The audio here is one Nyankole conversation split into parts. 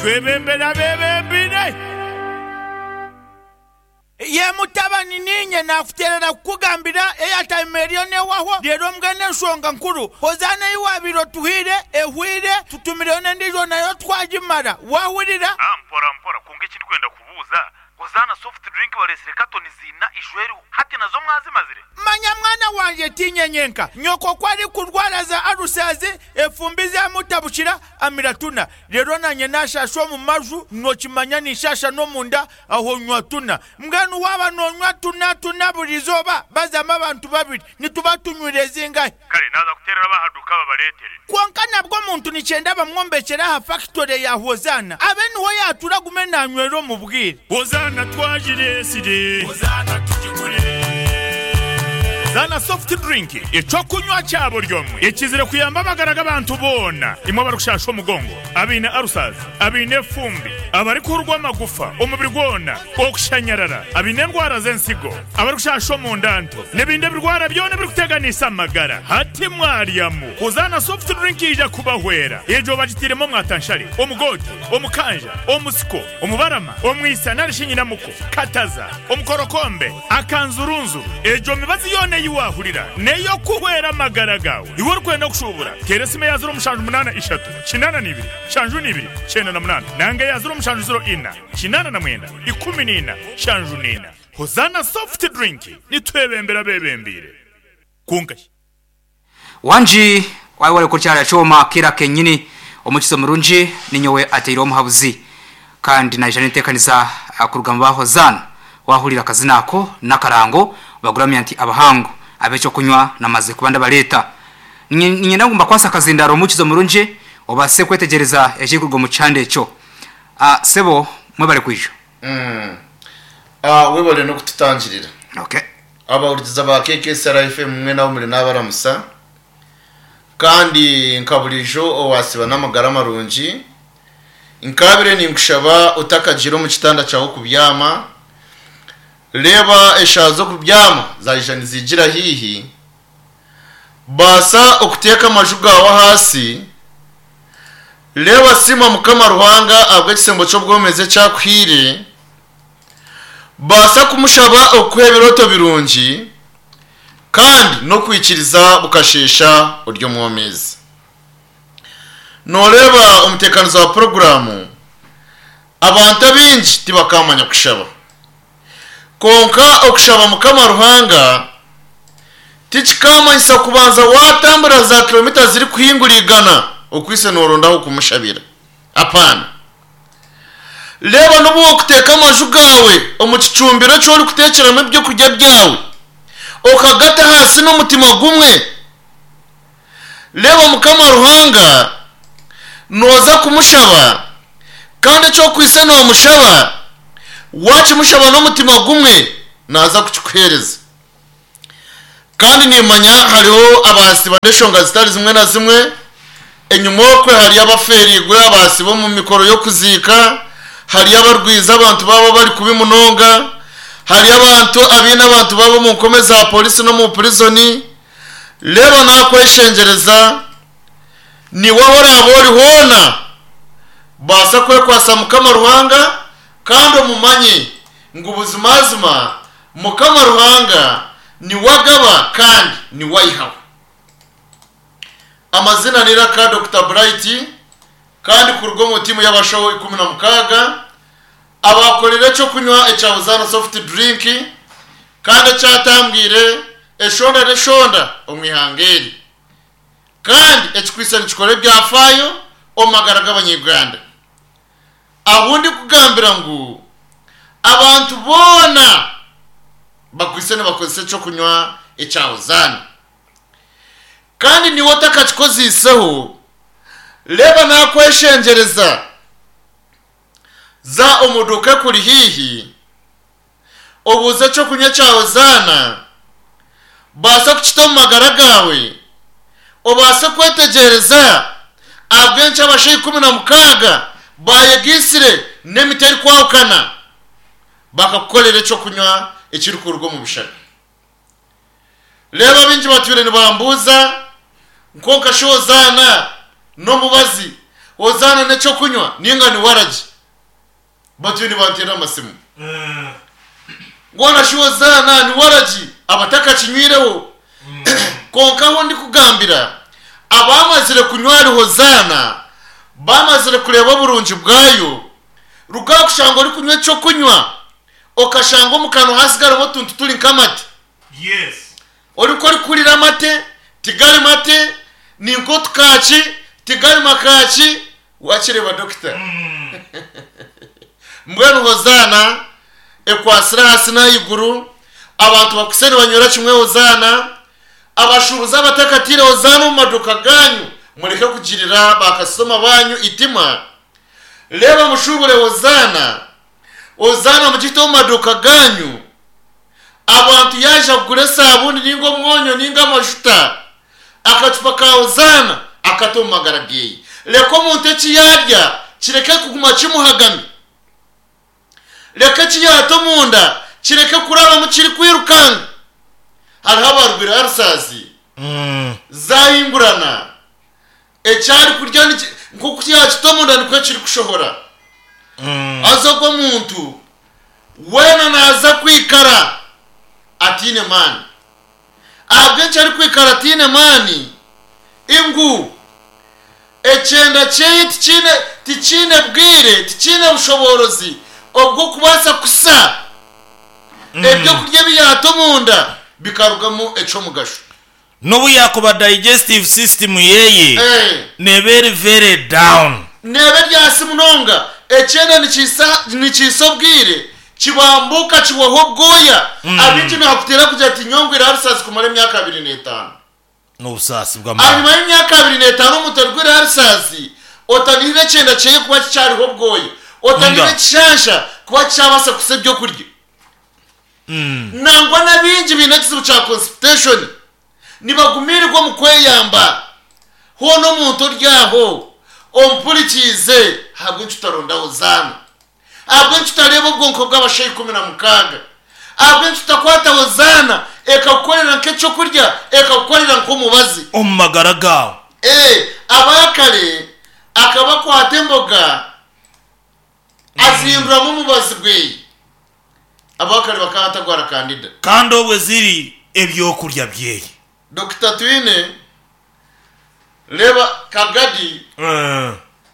Twebembere abeebembeire. Ye mutabani, niinye naakuteerera kukugambira eyataima eriyo neehwaho, reero mbwenu enshonga nkuru, Hozaana ei waabaire otuhaire ehwaire, tutumireyo n'endiijo nayo twagimara. Waahurira? Mpora mpora, kwonka eki ndikwenda kubuuza, Hozaana soft drink bareetsire katoni ziina ijo eriho, hati nazo mwazimazire? Manya mwana wangye, tiinye nyenka. Nyoko ku arikurwara za alusazi, efumbi zamutabukira, amira tuna. Reero naanye naashaasha omu maju, nookimanya ninshaasha n'omunda, aho nywa tuna. Mbwenu waaba noonywa tuna tuna buri izooba, bazamu abantu babiri, nituba tunywire zingahi? Kare naaza kuteerera ab'aha duuka babareetere. Kwonka nabwo omuntu nikyenda bamwombekyere aha fakitore ya Hozaana, abe niho yaatuura agume naanywera omu bwire. Hozaana twagireetsire. Hozaana tugigure. Hozaana soft drink, eky'okunywa kya buri omwe ekizire kuyamba amagara g'abantu boona, imwe abarikushasha omugongo, abaine ulcers, abaine efumbi, abarikuhurwa amagufa omubiri gwona, okushanyarara, abaine endwara z'ensigo, abarikushasha omunda nto, n'ebindi ebirwara byona ebirikuteganisa amagara. Hati mwaryamu Hozaana soft drink yaija kubahwera. Egyo bagitairemu omwatanshare, omugoote, omukanja, omusiko, omubarama, omwisa nari shi nyinamuko, kataza, omukorokombe, akanzurunzuru. Egyo mibazi yoona ei waahurira n'ey'okuhwera amagara gaawe. Iwe orikwenda kushuubura, teera esimu eya 078 82 72 98 nanga eya 0704 89 14 74. Hozaana Soft Drink, nitwebembera abeebembeire. Kwonka shi. Wangi wayewale kukyara kyoma kira kenyini omukizo murungi ninyowe ateire omuhabuzi kandi naija nentekaniza kuruga mu ba Hozaana wahurira akazina ako nakarango baguramya nti abahangu abekyokunywa namaze kuba ndabareta ninyenda ngu mbakwase akazindaro omukizo murungi obase kwetegyereza ekirikuruga omu kihanda ekyo sebo mwebale kwija. Webale nokututangirira. Okay. Abahurikiza ba KKSR FM mwena ahu muri nabaramusa kandi nka burijo owasiba n'amagara marungi nkabire ninkushaba otakagiire omu kitanda kyawe kubyama reeba eshaaha z'okubyama zaija nizigira haihi baasa okuteeka amaju gaawe ahaasi reeba siima mukama Ruhanga ahabw'ekisembo ky'obwomezi eki akuhaire Baasa kumushaba okukuha ebirooto birungi kandi n'okwikiriza bukasheesha ori omwomeezi. Nooreeba omuteekaniza wa puroguraamu, abantu abaingi tibakaamanya kushaba. Kwonka okushaba Mukama Ruhanga tikikaamanyisa kubanza waatambura zaakilomita zirikuhingura igana okwitse nooronda ah'okumushabira. Apaana. Reeba n'obu wakuteeka amaju gaawe omu kicumbiro eki orikuteekyeramu eby'okurya byawe, okagata ahansi n'omutima gumwe. Reeba Mukama Ruhanga nooza kumushaba, kandi eki okwaitse noomushaba, waakimushaba n'omutima gumwe, naaza kukikuheereza. Kandi nimmanya hariho abaasiba n'eshonga zitari zimwe na zimwe. Enyima okwe hariyo abafeereirwe abaasiba omu mikoro y'okuziika, hariyo abarwize abantu baabo bari kubi munonga, hariyo abantu abaine abantu baabo omu nkome za polisi n'omu purizoni. Reeba naakweshengyereza, naiwe ahu oraabe ori hoona, baasa kwekwatsa Mukama Ruhanga kandi omumanye ngu buzimazima Mukama Ruhanga niwe agaba kandi niwe aihaho. Amazina n'eiraka Dokita Bright kandi kuruga omu tiimu y'abashaho 16 abaakorire eky'okunywa ekya Hosanna Soft Drink kandi ekyatambwire eshonda n'eshonda omu ihanga eri kandi ekikwitse nikikora ebyafaayo omu magara g'abanya-Uganda. Ahu ndikugambira ngu abantu boona bakwitse nibakozesa eky'okunywa ekya Hozaana. Kandi niiwe otakakikoziiseho, reeba naakweshengyereza, za omu duuka ekuri haihi, obuuze eky'okunywa ekya Hozaana, baasa kukita omu magara gaawe, obaase kwetegyereza ahabw'enki abashaija 16 baayegaitsire n'emiti erikwahukana bakakukorera eky'okunywa ekirikuruga omu bishaka. Reeba abaingi batwire nibambuuza, Kwonka shi Hozaana n'omubazi? Hozaana n'eky'okunywa nainga ni waragi? Batyo nibanteerera amasimu. Mbwenu shi Hozaana ni waragi abatakakinywireho? Kwonka ahu ndikugambira, abaamazire kunywa ahari Hozaana baamazire kureeba oburungi bwayo, ruga aha kushanga orikunywa eky'okunywa okashanga omu kanwa hasigaramu otuntu turi nk'amate. Orikuba orikuhurira amate, tigari mate, ni nk'otukaaki, tigari makaaki, wakireeba dokita. Mbwenu Hozaana ekwatsire ahansi n'ahaiguru, abantu bakwitse nibanywera kimwe Hozaana, abashuubuzi abatakatiire Hozaana omu maduuka gaanyu, mureke kugirira baakasitoma baanyu eitima. Reeba mushuubure Hozaana, Hozaana mugite omu maduuka gaanyu, Abantu yaija kugura esaabuni ninga omwonyo ninga amajuta, akacupa ka Hozaana akata omu magara geye. Reka omuntu eki yaarya kireke kuguma kimuhagami. Reka eki yaata omunda kireke kurabamu kirikwirukanga. Hariho abarwaire arusazi zaahingurana, eki arikurya nk'oku yaakita omunda nikwo kirikushohora. Haza ogwo omuntu Weena naaza kwikara ataine maani. Ahabw'enki arikwikara ataine maani? Ngu ekyenda kyeye tikiine tikiine bwire, tikiine bushoboorozi obw'okubaasa kusa ebyokurya ebi yaata omunda bikarugamu eky'omugasho. N'obu yaakuba digestive system yeye neeba eri very down. Neeba eri ahansi munonga. Ekyenda nikiisa obwire, kibambuuka kihwaho obwoya. Abaingi nihakuteera kugira ati nyowe ngwire aha rusasi kumara emyaka 25. N'obusaasi bw'amaani. Ahanyima y'emyaka 25 omuntu origwire aha rusasi, otanihire ekyenda kyeye kuba kikyariho obwoya, otanihire ekishansha kuba kikyabaasa kusa ebyokurya. Nangwa n'abaingi baine ekizibu kya constipation nibagumiirwa omu kweyamba. Hoona omuntu ori aho ompurikiize, ahabw'enki otaronda Hozaana? Ahabw'enki otareeba obwonko bw'abashaija 16? Ahabw'enki otakwata Hozaana ekakukorera nk'eky'okurya, ekakukorera nk'omubazi? Omu magara gaawe. Ee, abaakare akaba akwata emboga azihinduramu omubazi gwe. Abakare bakaba batagwara kandida. Kandi obwe ziri ebyokurya byeye. Dokita Twine, Reeba Kagadi,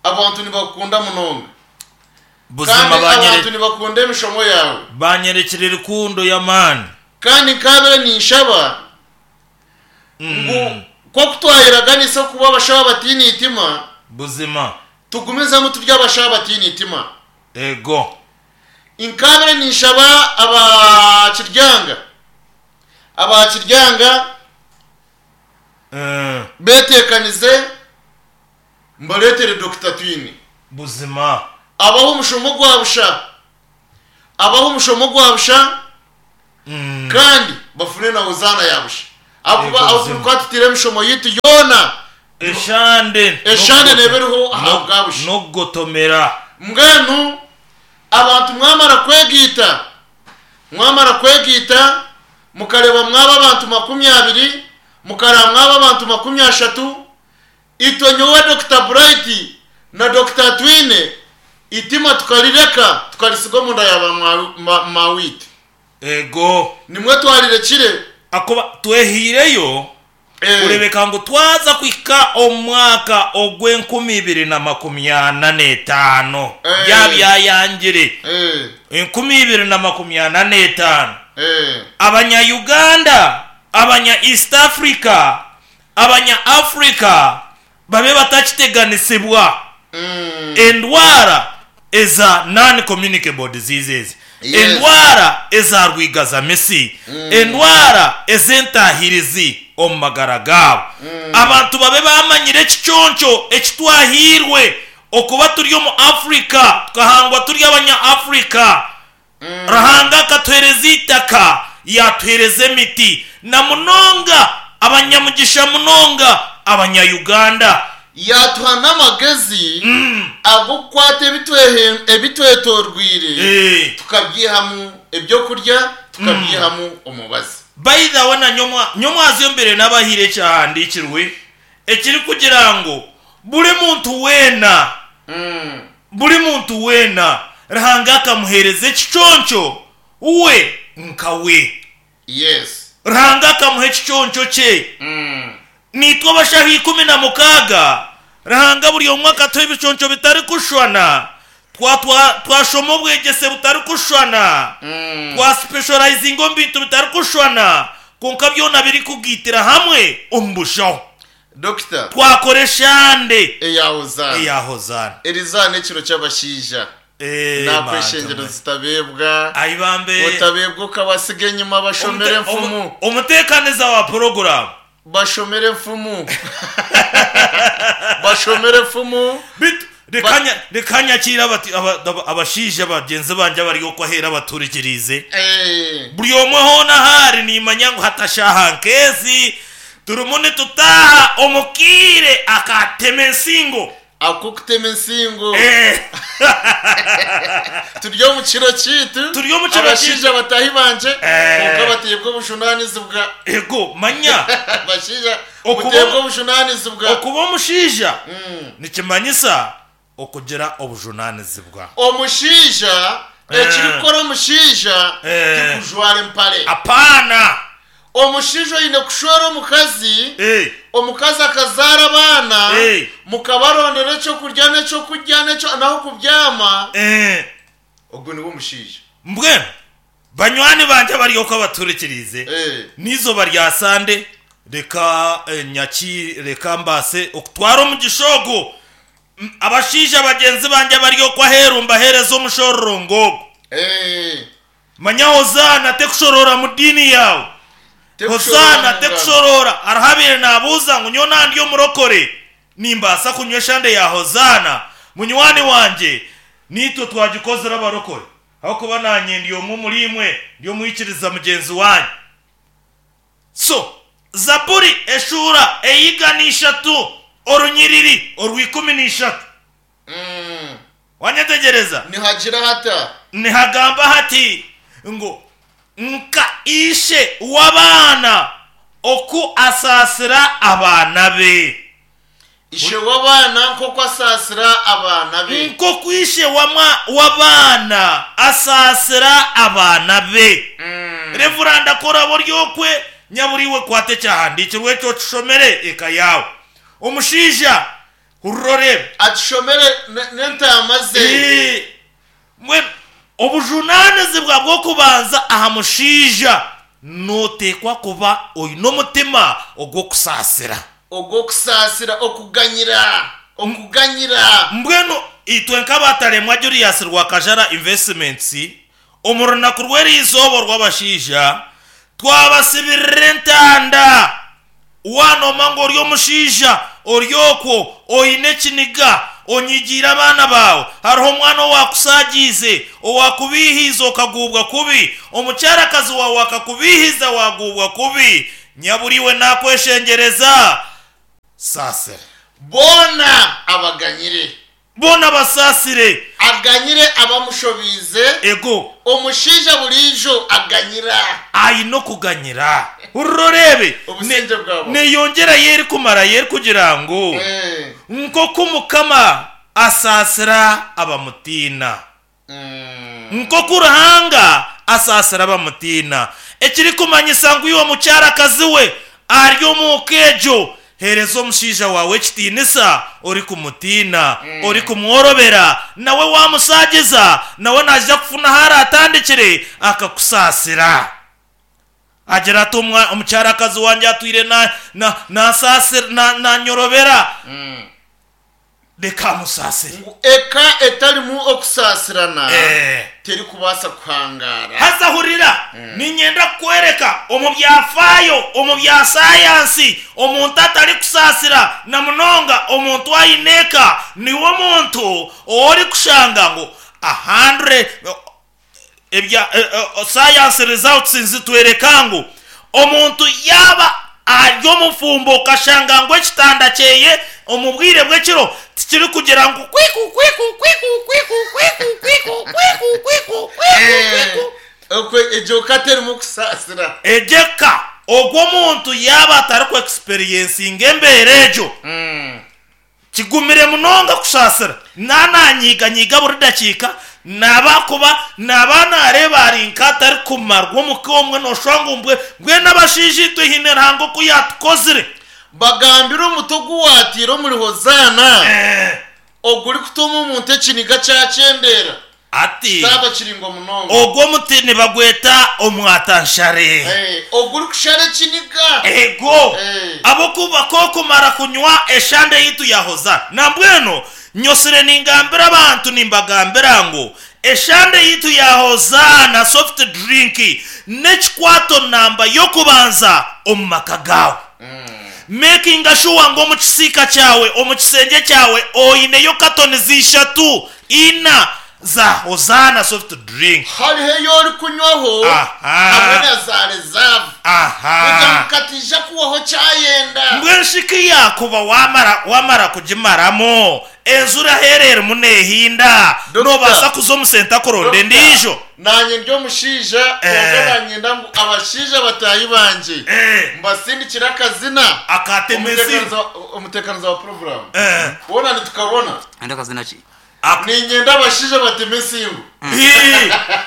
abantu nibakukunda munonga. Buzima Kandi abantu nibakunda emishomo yaawe. Banyerekire rukundo y'amaani. Kandi nkaabire ninshaba ngu nk'oku twayeraganisa okuba abashaho abataine itima, Buzima. tugumizemu turi abashaho abataine itima. Ego. Nkaabire ninshaba aba Kiryanga, aba Kiryanga beteekanize mbareetere Dokita Twine. Buzima. Abahe omushomo gwa busha, abahe omushomo gwa busha kandi bafune na Hozaana ya busha. Ahakuba Ego ahu buzima. turikuba tutaire emishomo yaitu yoona, Eshande eshande neeba eriho aha bwa busha. N'okugotomera. Mbwenu Abantu mwamara kwegaita, mwamara kwegaita, mukareeba mwaba abantu 20, mukareeba mwaba abantu 30, itwe nyowe Dokita Bright na Dokita Atwine, eitima tukarireka tukarisiga omunda ya ba maawiitu. Ego. Nimwe twarirekire. Ahakuba twehaireyo kureebeka ngu twaza kuhika omu mwaka ogw'enkumi ibiri na makumi ana n'etaano byaba byayangire, 2045, abanya Uganda, abanya East Africa, abanya Africa babe batakiteganisibwa endwara eza non-communicable diseases, endwara eza rwigazamisi, endwara ez'entaahirizi omu magara gaabo. Abantu babe baamanyire ekiconco eki twahairwe okuba turi omu Africa, tukahangwa turi abanya Africa. Ruhanga akatuheereza eitaka, yaatuheereza emiti, na munonga abanyamugisha munonga abanya Uganda. Yaatuha n'amagezi ag'okukwata ebitwetorweire tukabyihamu eby'okurya, tukabyihamu omubazi. By the way na nyomwazyo mbere nabahaire ekyahandiikirwe ekirikugira ngu. Buri muntu weena, buri muntu weena, Ruhanga akamuheereza ekiconco we nka we. Yes. Ruhanga akamuha ekiconco kye. Naitwe abashaho 16, Ruhanga buri omwe akatuha ebiconco bitarikushushwana. Twa, twa, twashoma obwegyese butarikushushwana, twasipeshorayizinga omu bintu bitarikushushwana, kwonka byona birikugaitira hamwe omu bushaho. Dokita. Twakora eshande Eya Hozaana. eya Hozaana. Eri zaaha n'ekiro ky'abashaija. Eh, Nakweshengyereza manta mwe. otabeebwa. Ai bambe. Otabeebwa okabasiga enyima bashomere enfumu. Omuteekaniza wa puroguraamu. Bashomere enfumu. Bashomere enfumu. Beitu reka nya- reka nyakiire abati- aba- aba- abashaija bagyenzi bangye abari okwo aheeru abaturikiriize. Eh. Buri omwe hoona ahu ari niimanya ngu hati ashaaha nk'ezi turimu nitutaaha omu kaire akatema ensingo. Ak'okutema ensingo. Eh. Turi omu kiro kyaitu. Turi omu kiro Abashaija bataahi bangye Eh. kwonka bateebwa obujunaanizibwa. Ego manya. Abashaija Okuba muteebwa obujunaanizibwa. Okuba omushaija nikimanyisa okugira obujunaanizibwa. Omushaija ekirikukora omushaija tikujwara empare. Apaana! Omushaija oine kushwera omukazi, omukazi akazaara abaana, mukabarondera eky'okurya n'eky'okurya n'ah'okubyama, ogwo niwe mushaija. Mbwenu banywani bangye abari okwo abaturikiriize, n'eizooba rya Sande reka nyaki reka mbaase okutwara omugisha ogu, abashaija bagyenzi bangye abari okwo aheeru mbaheereze omushororongo ogu. Manya Hozaana tekushoroora mu diini yaawe. Hozaana tekushoroora. Hariho abaire naabuuza ngu nyowe naaba ndi omurokore, nimbaasa kunywa eshande ya Hozaana? Munywani wangye, naitwe twagikozire abarokore, ahabw'okuba naanye ndi omwe omuriimwe, ndi omwikiriza mugyenzi waanyu. So, Zaaburi eshuura ey'eigana ishatu orunyiriri orw'ikumi n'ishatu. Wanyetegyereza? Nihagira hata? Nihagamba hati ngu, Nka ishe w'abaana oku asaasira abaana be. Ishe w'abaana nk'oku asaasira abaana be. Nk'oku ishe w'abaana asaasira abaana be. Revuranda ku oraabe ori okwe, nyabura iwe kwata ekyahandiikirwe ekyo okishomere eka yaawe. Omushaija Hurira oreebe. Akishomere n'entaama ze. Ee, mbwenu obujunaanizibwa bw'okubanza aha mushaija, nooteekwa kuba oine omutima ogw'okusaasira. Ogw'okusaasira, okuganyira, okuganyira. Mbwenu itwe nk'abataremwa Julius Rwakajara Investments, omu runaku rw'eriizooba orw'abashaija, twabasibirira entanda. Waanooma ngu ori omushaija ori okwo oine ekiniga, onyigiire abaana baawe, hariho omwana owaakusaagiize, owaakubiihiize okaguubwa kubi, omukyarakazi waawe akakubiihiza waaguubwa kubi, nyabura iwe naakweshengyereza, saasira. Boona abaganyire. Boona basaasire. Aganyire abamushobiize. Ego. Omushaija buriijo aganyira. Aine okuganyira. Hurira oreebe. Obusingye bwabaho. Neeyongyerayo erikumarayo erikugira ngu, Nk'oku Mukama asaasira abamutiina. Nk'oku Ruhanga asaasira abamutiina. Ekirikumanyisa ngu iwe mukyarakazi we ari omu ka egyo, heereza omushaija waawe ekitiinisa orikumutiina, orikumworobera, nawe waamusaagiza, nawe naija kufuna ahu araatandikire akakusaasira. Agira ati, Omukyarakazi wangye atwire naanyorobera. Reka amusaasire. Ngu eka etarimu okusaasirana terikubaasa kuhangaara. Haza hurira, niinyenda kukworeka omu byafaayo, omu bya saayansi, omuntu atarikusaasira, na munonga omuntu aine eka, niwe muntu ou orikushanga ngu ahandure. Ebya science results nizitwereka ngu omuntu yaaba ari omufumbo okashanga ngu ekitanda kyeye omu bwire bw'ekiro tikirikugira ngu kwiku kwiku kwiku kwiku kwiku kwiku kwiku kwiku kwiku kwiku. Okwe egyo ka terimu kusaasira. Egyo eka ogwo omuntu yaaba atariku experiencinga embeera egyo. Kigumire munonga kusaasira. Naananyiganyiga buri dakiika, naaba kuba naaba naareeba ari nk'atarikumarwa omu ka omwe nooshusha ngu mbwe mbwenu abashaija itwe haine Ruhanga oku yaatukozire. Bagambire omuti ogu waataire omuri Hozaana, ogurikutuma omuntu ekiniga kyakyendeera, Ati, kyaba kiraingwa munonga. Ogwo omuti nibagweta omwatanshare. Ogurikushara ekiniga. Ego, ab'okuba k'okumara kunywa eshande yaitu ya Hozaana. Nambwenu nyosire ningambira abantu nimbagambira ngu eshande yaitu ya Hozaana soft drink n'ekikwato namba y'okubanza omu maka gaawe. Mekinga shuwa ngu omu kisiika kyawe, omu kisengye kyawe oineyo katonizi ishatu, ina za Hozaana soft drink. Hariho ei orikunywaho hamwe na za reserve kugira ngu kataija kuhwaho kyayenda. Mbwenu shi ku yaakuba wamara wamara kugimaramu, enjura aheeru erimu neehinda, noobaasa kuza omu senta kuronda endiijo? Naanye ndi omushaija, kwonka naanyenda ngu abashaija bataahi bangye mbasindikire akazina. Omuteekaniza wa puroguraamu, hoona nitukabona. Andi akazina ki? Niinyenda abashaija bateme ensingo.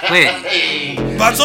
Kweli. Banza.